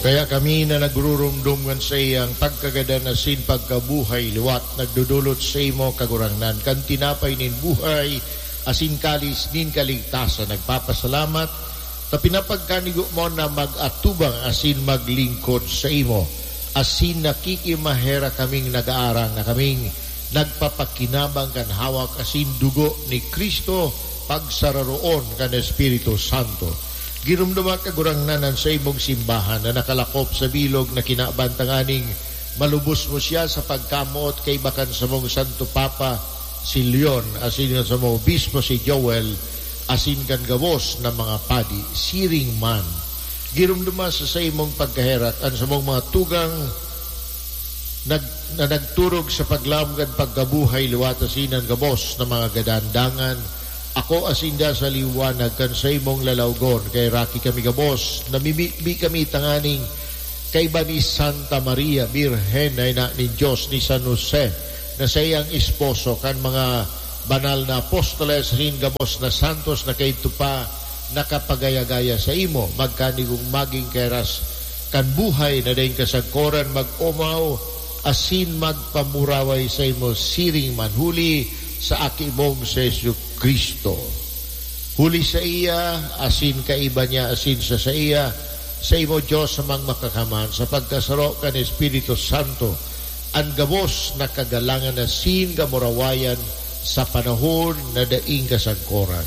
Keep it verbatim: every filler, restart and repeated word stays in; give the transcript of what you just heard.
Kaya kami na nagrurumdom ngan saiyang pagkagadan asin pagkabuhay liwat, nagdodolot saimo, Kagurangnan, kan tinapay nin buhay asin kalis nin kaligtasan. Nagpapasalamat ta pinapagkanigo mo na mag-atubang asin maglingkod saimo, asin nakikimaherak kaming nag-aarang na kaming nagpapakinabang kan hawak asin dugo ni Cristo, pagsararoon kan Espiritu Santo. Giromdoma, Kagurangnan, an saimong simbahan na nakalakop sa bilog na kinaban, tanganing malubos mo siya sa pagkamoot kaiba kan samong Santo Papa, si Leon, asin kan samong Obispo, si Joel, asin kan gabos na mga padi. Siring man, giromdoma sa saimong pagkaherak an samong mga tugang nag-, na nagturog sa paglaom kan pagkabuhay liwat asin an gabos na mga gadan. Dangan akoa sinda sa liwanag kan saimong lalawgon. Kaheraki kami gabos, namimibi kami tanganing kaiba ni Santa Maria Birhen na ina nin Dios, ni San Jose na saiyang esposo, kan mga banal na apostoles asin gabos na santos na kaidto pa nakapagaya-gaya saimo, magkanigong magin kairas kan buhay na daing kasagkoran, mag-omaw asin magpamuraway saimo siring man, huli sa Aki mong si Jesu-Cristo. Huli saiya, asin kaiba niya, asin sa saiya, saimo, Dios Amang Makakamhan, sa pagkasaro kan Espiritu Santo, an gabos na kagalangan asin kamurawayan sa panahon na daing kasagkoran.